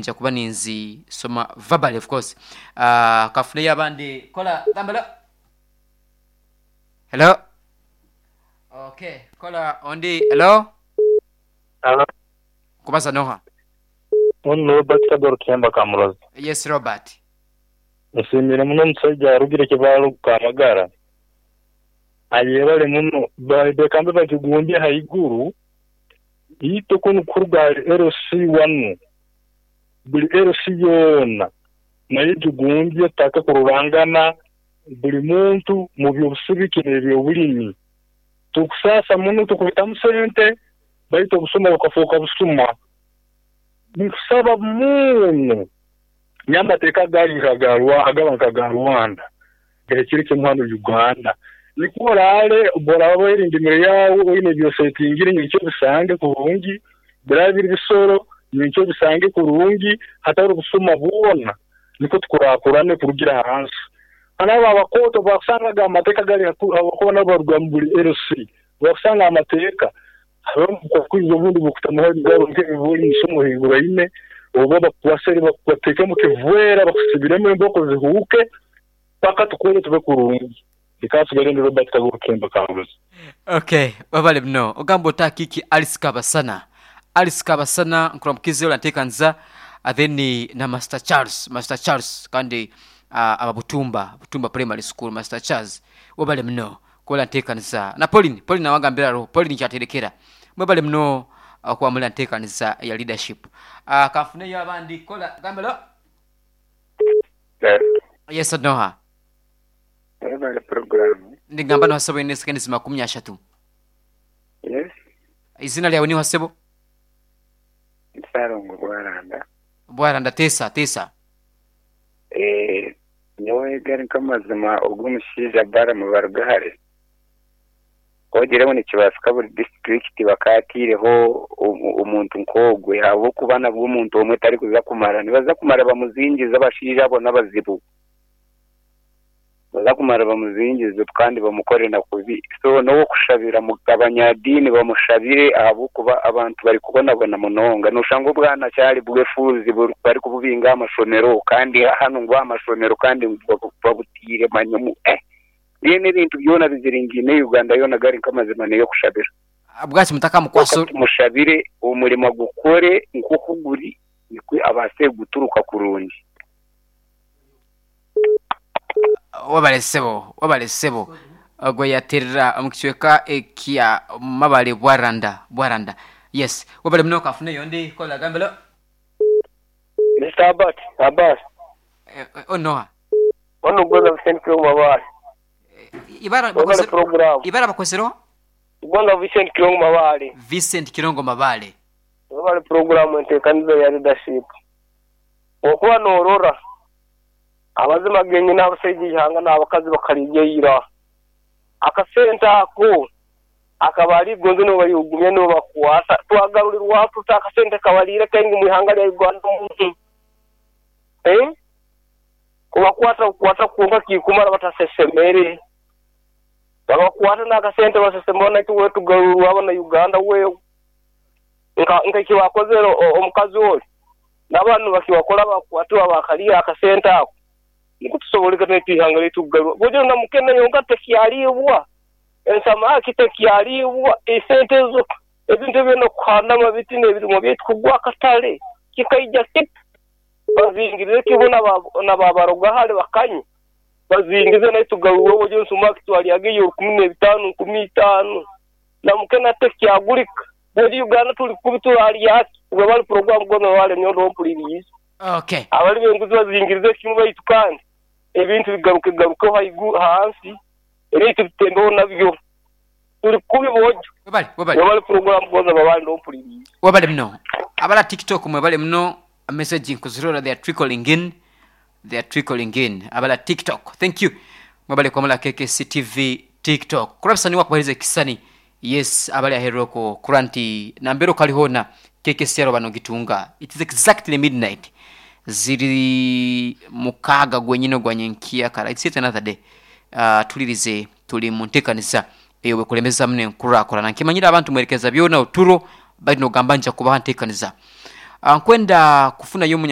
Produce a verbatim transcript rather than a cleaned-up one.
Nja kuba ninzi soma verbally, of course. uh, kafuneyo abandi. Kola gambala. Hello. Okay, kola ondi. Hello. Hello. Kubaza noha? Ono Robert Kagoro Kemba Kamurozi. Yes, Robert. Nsiimire muno omusajja arugire kibaalo Kamagara. Ayebale muno bekambe bakigumbye haiguru ito kunu kuruga L C one buli L C yoona naye gigumbye taka kururangana buli muntu mu by'obusibiki n'ebyobulimi. Tukusasa muno tukubitamu sente baitu obusuma bukafuuka busuma. Nkusaba muno nyamateeka gali nkagarwa agaba nka Rwanda ekiri kimu Uganda nikuorale boraba werindimire yawe oyine byosetingire nyicyo bisange kurungi birabiri bisoro nyicyo bisange kurungi hatari ubusuma bwona niko tukurakurane kurugira hansi. Anaba abakoto bakusangaga amateka gali abakona baruga mu buli L C bakusanga amateka abamukwizo bundi bukutamuha bigaro nk'ebibuli misomo higura ine oba bakwasere bakubateka mu kivwera bakusibiremo emboko zihuke paka tukole tube kurungi. Ikasigarende Robert Kagoro Kemba Kamurozi. Okay, wabale mno ogambo takiki Alice Kabasana. Alice Kabasana nkuramukize olantekanza then na Master Charles, Master Charles kandi uh, ababutumba Butumba Primary School. Master Charles wabale mno kola ntekanza na Pauline. Pauline awagambira ro Pauline kyaterekera mwebale mno uh, kwa mula ntekanza ya leadership. uh, kafuneyo abandi. Kola gambelo. Yes, Noha. Ebale program. Ndigamba no hasebo ine seconds makumi ashatu. Yes. Izina lyawe ni hasebo? Sarongo Bwaranda. Bwaranda tesa tesa. Eh, nyowe gari nkamazima ogumushiija bara mu barugahare. Ogireho nikibasika buri district bakatireho omuntu nkogwe abo kubana bw'omuntu omwe tari kuza kumara nibaza kumara bamuzingiza abashiija abo n'abazibu. Baza kumara bamuzingize kandi bamukore na kubi. So no kushabira mugabanyadini bamushabire abo kuba abantu bari kubonabona munonga nushanga obwana cyari bwefuzi bari kububinga amashomero kandi hano ngo amashomero kandi babutire manyomu eh yene bintu byona biziringine Uganda yona gari nkamazima neyo kushabira. Abwaki mutaka mukwaso mushabire umurimo gukore nkokuguri nikwe abase guturuka kurungi. Wabale sebo, wabale sebo ogwe yaterera mukicweka ekya Mabale Bwaranda, Bwaranda. Yes, wabale mno kafune yondi kola gambelo. Mister Abbas, Abbas. Eh, oh no. Ono goza Vincent Kirongo Mabale. Ibara bakozero program. Ibara bakozero? Goza Vincent Kirongo Mabale. Vincent Kirongo Mabale. Wabale program entekanizo ya leadership. Okuba norora abazima genye n'abasajja ihanga n'abakazi bakaligeyira akasenta ako akabali gonzo no bali ugumye no bakwasa twagarurirwa tuta akasente kabalire kengi mu ihanga lya Uganda omuntu eh kubakwata kukwata kunga kikumara batasesemere babakwata n'akasente basesemona kiwe tugarurwa abana Uganda we nka nka kiwakozero omukazi oli n'abantu bakiwakola bakwatwa bakaliya akasente ako nikutusoboleka netihanga letugarwa bojo na mukene yonka tekyalibwa ensamaki tekyalibwa esente zo ebintu byona kuhanda amabiti n'ebirimo byetukugwa akatale kikaija kit bazingirize kibona nababaroga hali bakanye bazingize naitugarwa bojo nsumaki twalyageyo kumi n'ebitaano kumi n'itaano na mukene tekyagulika bojo Uganda tuli kubitulali yaki ubwo bali program gono wale nyondo mpuliriza. Okay. Abali benguzi bazingirize kimu baitu kandi ebintu bigaruke garuke haigu hansi ebintu bitembeho nabyo tuli kubi bojo. Wabali wabali wabali program goza babali mpuliriza. Wabali mno abala TikTok mwe bali mno messaging kuzirora, they are trickling in, they are trickling in abala TikTok. Thank you mwabali kwa mala K K C T V TikTok kurabisani wakubaliza kisani. Yes, abali aheroko kuranti nambero kalihona K K C bano gitunga. It is exactly midnight ziri mukaga gwenyino gwanyenkia kala. It's yet another day. Uh, tulirize tuli muntekanisa eyo bekulemeza mne nkurakora na nkimanyira abantu mwerekeza byona oturo bali no gambanja kubaha ntekanisa. Uh, nkwenda kufuna yomunya